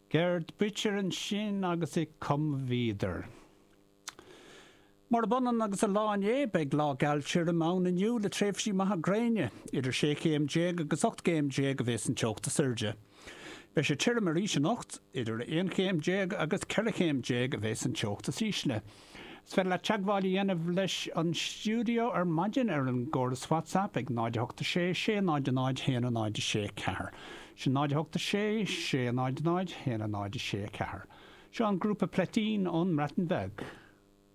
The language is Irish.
Gerd Buecher ansin agus Ich komm wieder. Murab ionann agus an lá inné, beidh lá geal tirim ann inniu le tréimhsí maithe gréine. Idir 16 chéim agus 18 gcéim a bheas an teocht is airde. Beidh sé tirim arís anocht, idir 11 chéim agus 14 chéim a bheas an teocht is ísle. Is féidir leat teagmháil a dhéanamh leis an stiúideo ar maidin ar an gcóras WhatsApp ag 0 8 6 6 0 0 1 0 6 4. Sin 0 8 6 6 0 0 1 0 6 4. Seo an grúpa Plaitín ón mBreatain Bheag.